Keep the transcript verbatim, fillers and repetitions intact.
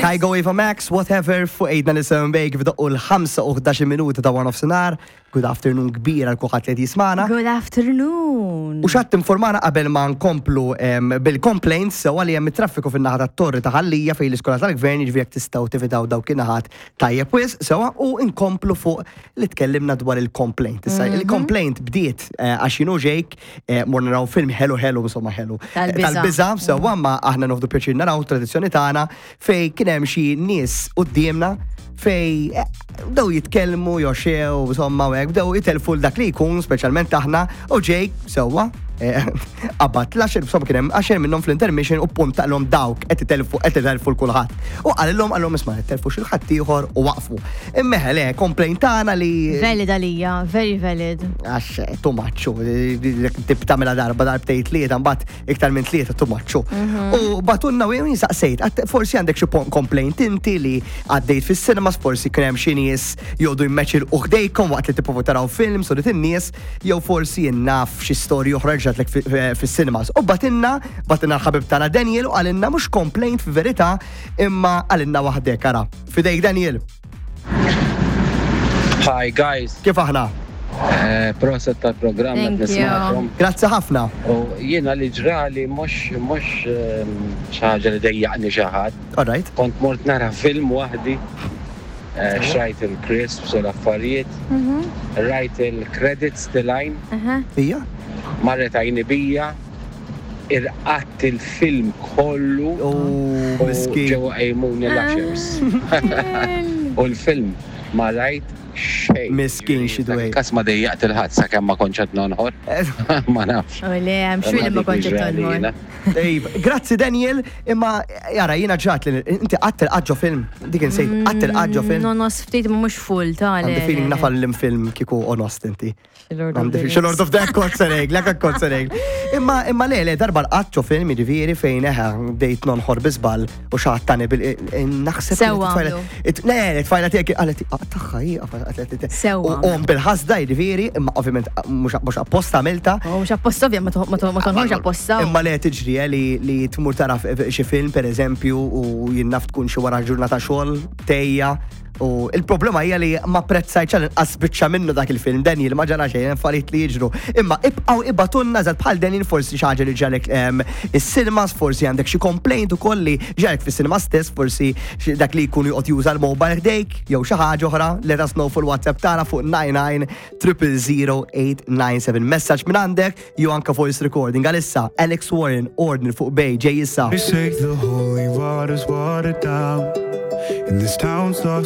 Kygo Ava Max, whatever, fuq Ejdna Nisem Bejk f'doqqu l-ħamsa u ħdax-il minuta ta' one of sinar. Good afternoon kbira għal kulħadd li qed jismagħna. Good afternoon. U xatt informana qabel ma nkomplu em, bil-complaints sewa li hemm traffiku fin-naħa tat-Torri ta' Ħal Lija fejn l-iskola tal-gvern, jiġifieri jekk tistgħu tevitaw dawk in-naħat tajjeb wisq sewa u nkomplu fuq li tkellimna dwar il-complaint. Issa il-complaint bdiet eh, għax jien u Jake eh, morna naraw film ħelu ħelu, insomma ħelu. Tal-biża'. Tal-biża' sewa, ma aħna nieħdu pjaċir naraw tradizzjoni tagħna, fej kien hemm xi nies quddiemna fej eh, bdew jitkellmu joxew, insomma, u hekk bdew jitelfu dak li jkun, speċjalment aħna, u Jake sewwa eh, qabad l-għaxar, insomma kien hemm għaxar minnhom fl-intermission u puntahom, "Dawk qed itelfu, qed itelfu 'l kulħadd." U qalilhom qalilhom "Isma', telfu xi ħadd ieħor" u waqfu. Imma le, complaint tagħna li Valid għalija, very valid. Għax too much, tip tagħmilha darba, darbtejn, tlieta, mbagħad iktar minn tlieta too much. U bagħtulna u jien saqsejt, għat- forsi għandek xi pon- complaint inti li għaddejt fis-cinemas, forsi kien hemm xi nies joqogħdu jmeċilqu ħdejkom waqt li tipprovaw taraw film, so dit in-nies, jew forsi naf xi storja oħra ġratlek fi- fis-cinemas. U bagħtilna, bagħtilna l-ħabib tagħna Daniel u qalilna mhux complaint fi verità imma qalilna waħdek ara. Fidejk, Daniel. Hi guys, Kif aħna? eh, proset tal-programm Thank qed you. nismagħkom. Grazzi ħafna. U jiena li ġrali mhux mhux ehm, xi ħaġa li dejjaqni xi ħadd. All right. Kont mort nara film waħdi. eh, Xtrajt il-crisps u l-affarijiet, rajt il-credits telgħin, Aha. Ija? Marret għajni bija, irqadt il-film kollu U u miskin. ġew qajmuni l-ushers. U l-film ma rajt xejn. Miskin xi dwejjaq. Kas ma dejjaqt 'il ħadd sakemm ma kontx qed nonħor. Ma nafx. U le, I'm sure li ma kontx tonħor. Ejb, grazzi Daniel, imma jara jiena ġat li inti qatt irqadt ġo film, dik insejt, qatt irqadt ġo film. No, nos ftit ma mhux full ta' le. Għandi feeling naf liem film kieku onost inti. Lord of Għandi the feeling, Lord of the kont sereg, lek kont sereg. Imma imma le, le, darba rqadt ġo film, jiġifieri fejn eħe bdejt nonħor bi żball u xi ħadd tani bil naħseb. Sewwa it-tfajla- għamlu. it- Le, it-tfajla tiegħek qalet tagħha hi qalet. Sewwa U qom bil-ħasda jiġifieri, imma ovvjament mhux mhux apposta għamilta. U mhux apposta ovvja, ma to- ma to- ma tonħorx apposta. Imma le, tiġri eh, li, li tmur tara f- xi film per eżempju u jien naf tkun xi wara ġurnata xogħol tejja u il-problema hija li ma apprezzajtx għal inqas biċċa minnu dak il-film. Daniel, ma ġara xejn, affarijiet li jiġru. Imma ibqgħu ibagħtulna żgħat bħal Daniel, forsi xi ħaġa li ġralek em, is-cinemas, forsi għandek xi complaint ukoll li ġralek fis-cinema stess, forsi xi- dak li jkun joqgħod juża l-mobile ħdejk jew xi ħaġa oħra, let us know fuq il-WhatsApp tagħna fuq nine nine triple zero eight nine seven. Messaġġ minn għandek jew anka voice recording. Għalissa Alex Warren, Ordner fuq Bay ġej issa. They say the holy water's watered down. And this town's lost.